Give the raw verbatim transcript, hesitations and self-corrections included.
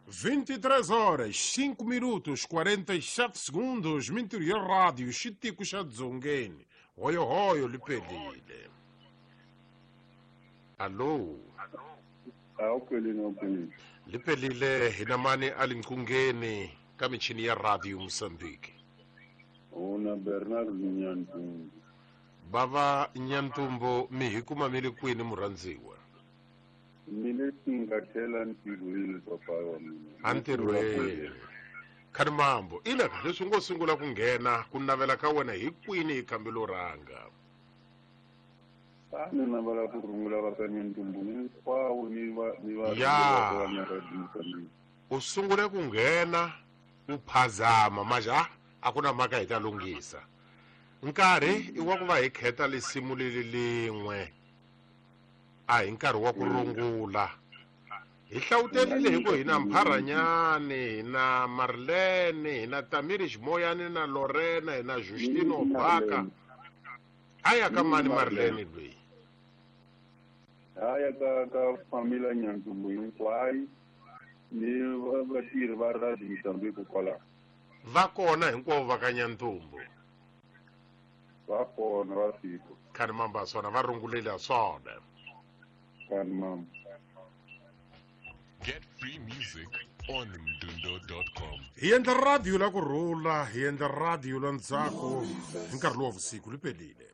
vinte e três horas cinco minutos quarenta e sete segundos. Mintirho Radio, xitiko xa Dzongeni. Hoyohoyo, liphelile. Allo? Awuphelile, awuphelile. Liphelile. Hina mani alinqungeni ka michini ya Radio Mozambique? Una Bernard Nyantumbu. Bava Nyantumbu, mi hi kuma mi le kwini, murhandziwa? Mi le tingathela ntirhweni, papa wa mina. Antirhweni. Khani mambo ileka leswi ngo sungula ku nghena, ku navela ka wena hi kwini hi khambelo rhanga? A ni navela ku rungula va ka Nyantumbu hinkwavo ni va ni va Ya. va na Radio Mozambique. U sungule ku nghena u phazama maja, a ku na mhaka, hi ta lunghisa. Nkarhi i wa ku va hi kheta lisimu leli lin'we, a hi nkarhi wa ku rungula. Hi hlawutelile hi ku hi na Mpharanyani, hi na Marlene, hi na Tamiri Ximoyani, na Lorena, hi na Justino Baka. A ya ka mani Marlene loyi? Haya ka ka familia Nyantumbu hinkwayo ni va- vatirhi va Radio Mozambique kwalaho. Va kona hinkwavo va ka Nyantumbu? Va kona, va fika. Khani mamba swona, va rungulile swona. Kani mama. Get free music on mdundo dot com. Hi endla radio la ku rhula, hi endla radio la ntsako hi nkarhi lowu wa vusiku. Liphelile.